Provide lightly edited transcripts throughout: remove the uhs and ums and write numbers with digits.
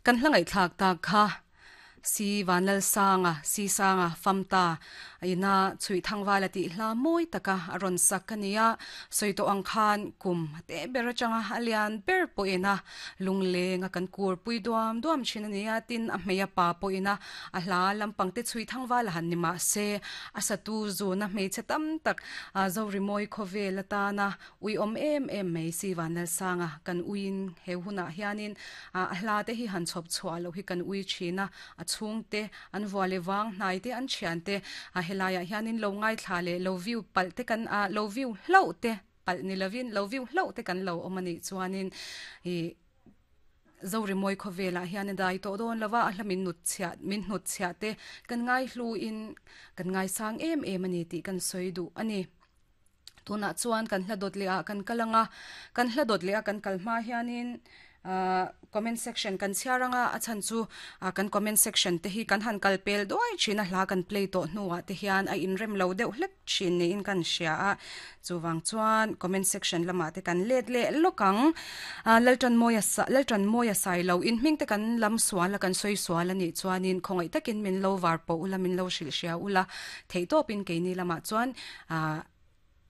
Kan hla ngaihthlak tak kha Si Vanlalsanga, Si Sanga, Famta, ina chhuih thangval a tih hla mawi taka a rawn sak a ni a. Sawi tawh ang khan kum a teh ber atanga a lian ber pawhin a lungleng a kan kur pui duam duam thin a ni a, tin a hmei a pa pawhin a a hla lampang te chhuih thangval a han ni mah se a satu zuna hmeichhe tam tak Zorimawi khawvel atana Ui awm em em mai si Vanlalsanga kan uiin he hunah hianin a hla te hi han chhawp chhuah loh hi kan ui thin a, a chhungte an vua leh vang hnai te an thian te helaiah hianin lo ngaithla leh lo view palh te kan lo view hlauh te palh ni lovin lo view hlauh te kan lo awm a nih chuanin ih Zorimawi khawvelah hian a dai tawh dawn lova a hla min nut chhiah min hnut chhiah te kan ngaihluin kan ngaisang em em a ni tih kan sawi duh a ni. Tunah chuan kan hla dawt leh ah kan kal ang a, kan hla dawt leh a kan kal hma hianin ahh comment section kan chhiar ang a, a chhan chu ah kan comment section te hi kan han kal pel duai thin a hla kan play tawh hnuah te hian a inrem lo deuh hlek thin niin kan hria a, chuvang chuan comment section lamah te kan let leh lawk ang. Ah Laltanmawia sa Laltanmawia Sailo in hming te kan lam sual a kan sawi sual a nih chuanin khawngaih takin min lo var pawh ula min lo hrilh hria ula theihtawpin keini lamah chuan ah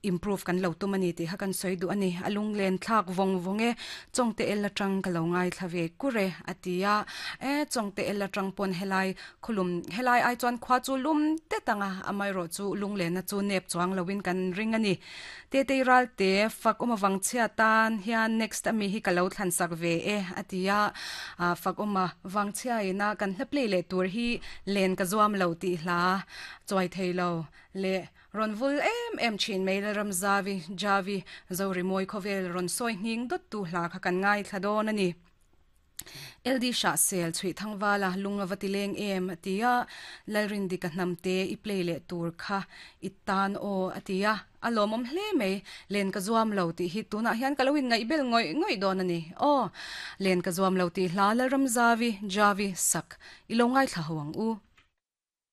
improve kan lo tum a ni tih kha kan sawi duh a ni. A lunglen thlak vawng vawng e, Chawngte el atang ka lo ngaithla ve kur e a ti a. E Chawngte el atang pawn helai khawlum helai ai chuan khua chu lum tet ang a, amaherawh chu lunglenna chu nep chuang loin kan ring a ni. Tetei Ralte fak awm avang chhia tan hian next ami hi ka lo thlan sak ve e a ti a. Ah fak awm avang chhia ina kan hla play leh tur hi len ka zuam lo tih hla chuai thei lo leh Rawn vul em em thin mai Lalramzavi, Javi, Zorimawi khawvel rawn sawi nghing dawttu hla kha kan ngaithla dawn a ni. LD Hrahsel chhuih thangvala lung a va ti leng em a ti a, Lalrindika hnamte i play leh tur kha i tan aw a ti a, a lawmawm hle mai, len ka zuam lo tih hi tunah hian ka lo inngaihbel ngawih ngawih dawn a ni. Aw, len ka zuam lo tih hla Lalramzavi, Javi, sak i lo ngaithla ho ang u.